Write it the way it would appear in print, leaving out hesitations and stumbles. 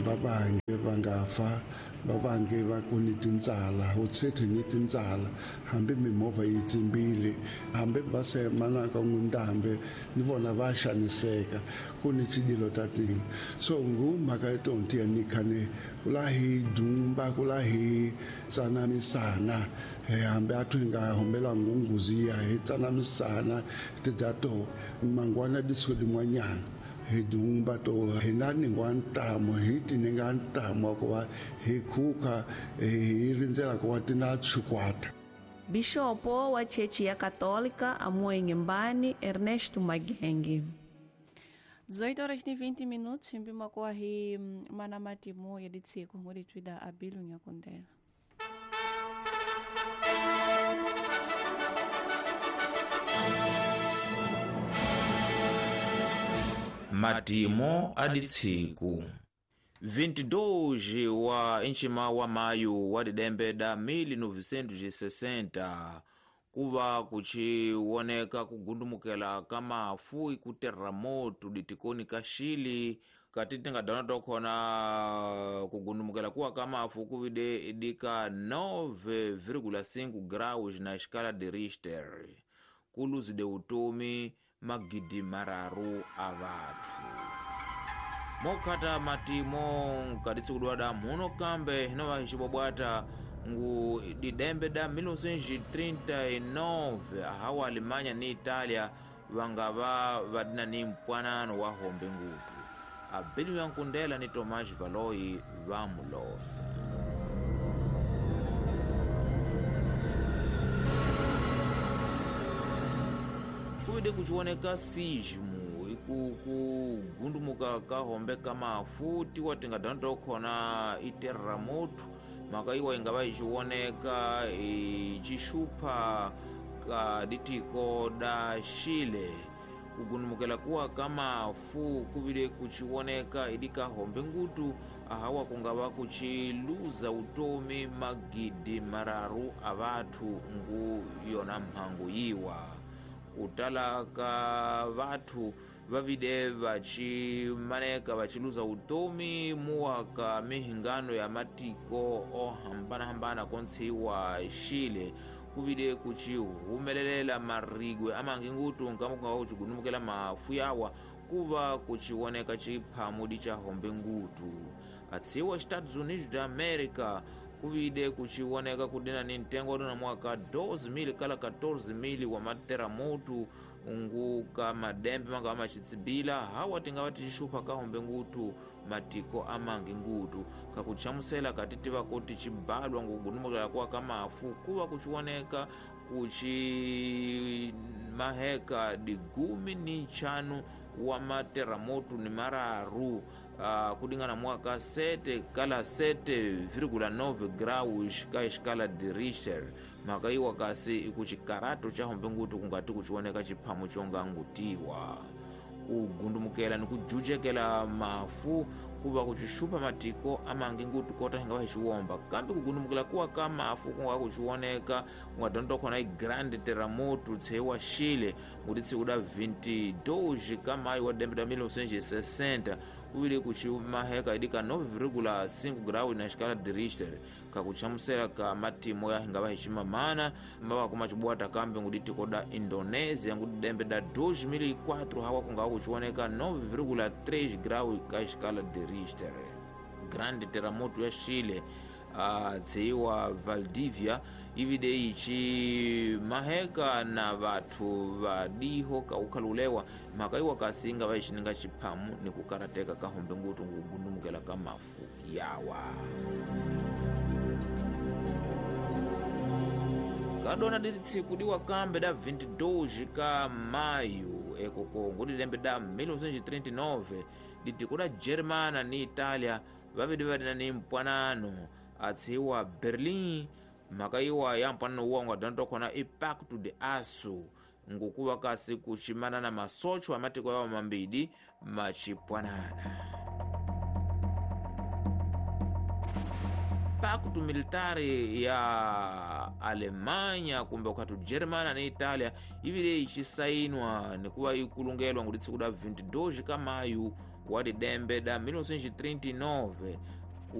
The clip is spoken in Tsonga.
Va vange va nga fa, va vange va ku ni tintsala, u tshete ni tintsala, hambi mimovha yi tsimbile, hambi va se manaka n'windambe ni vona va xaniseka, ku ni tsidilo ta tini. So ngu mhaka ya tonti ya ni khane kula hi dumba, kula hi tsanamisana, hambi a thu nga hombela ngunguziya hi tsanamisana tidzato mangwana disuku din'wanyana hi dumba to hi na ningwa ntamu, hi tininga ntamu wa ku va hi khuka hi rindzela ku va tina xikwata. Bishopo wa Chechi ya Católica Amoenhembani Ernesto Magenge. 18 horas e 20 minutos, mpima kwa hi mana matimu ya ditsiko ngodi twida abilu nyakondela. Matimo aditsiku 22 wa nchima wa mayu wa didembe da 1960 kuva kuchiwoneka kugundumukela ka mafu iku terremoto ditikoni ka Chile kati tingadana tokhona kugundumukela kuwa ka mafu kuvide dika 9,5 graus na escala de Richter kuluzide utomi magidi mararu a vathu. Mokhata matimo nkatitsi kudwada muno kambe hinova xibwabwata ngu didembe da 1939 ahawa Alemanha ni Itália vangava vadina ni mpwanano wa hombe ngutu. Abelu ya Nkundela ni Tomás Valoi vamulosa. Kuide kuchioneka sismo kugundumuka ka hombe ka mafu tiwa tingadana tokhona iterramoto maka iwa ingava ichioneka ichixupha ka ditiko da Chile. Kugundumukela kuwa ka mafu kuvile kuchioneka idika hombe ngutu ahawa kungava kuchiluza utomi magidi mararu a vathu ngu yona mhangu yiwa. Kutala ka vathu vavide vachimaneka vachiluza utomi muwa ka mihingano ya matiko ohambanahambana kontsiwa Chile kuvide kuchihumelelela marigwe amangi ngutu nkama kungava kuchigundumukela mafu yawa kuva kuchioneka chiphamudi cha hombe ngutu. Atsiwa Estados Unidos da América kuvide kuchioneka kudina ni ntengo wadona mwaka 12,000 kala 14,000 wa materamoto ngu ka madembe manga amachitsibila hawa tingava tichixupha ka hombe ngutu matiko amangi ngutu kakuchamusela katitiva kuti chibalwa ngukugundumukela kuwa ka mafu kuva kuchioneka kuchi maheka digumi ni nchanu wa materamoto ni mararu kudingana mwaka 7 kala 7,9 graus ka escala de Richter maka iwa kasi ikuchikarato cha hombe ngutu kungati kuchioneka chiphamu chonga ngutiwa. Kugundumukela ni kujujekela mafu kuva kuchixupha matiko amangi ngutu kota hinga va xiwomba kambe kugundumukela kuwa ka mafu kunga kuchioneka kungadonto khona i grande terremoto tshewa Chile ngutitsi kuda 22 ka mayu wa dembe da 1960 kuvile kuchimaheka idika 9,5 graus na escala de Richter kakuchamusela ka matimo ya hinga va ximamana mava kuma chibwata kambe nguditiko da Indonesia ngudidembe da 2004 hawa kunga kuchioneka 9,3 graus ka escala de Richter. Grande terremoto ya Chile tseiwa Valdivia ivide ichi maheka na vathu vadiho kaukhalulewa mhaka iwa kasinga va xininga xiphamu ni kukarateka ka hombe ngutu ngukugundumukela ka mafu yawa. Kadona ditsiku diwa kambe da 22 ka mayu ekoko ngudilembe da 1939 ditiko da Germana ni Italia vavidi vadina ni mpwanano atsiwa Berlin mhaka iwa ya mpwanano uwa ungadana tokhona i Pacto de Aço ngukuva kasi kuchimana na masocho amatiko yawo mambidi machipwanana. Pacto militari ya Alemanha kumbe ukhati Germana ni Italia ivile ichisainwa nikuva ikulungelwa nguditsi kuda 22 ka mayu wa didembe da 1939.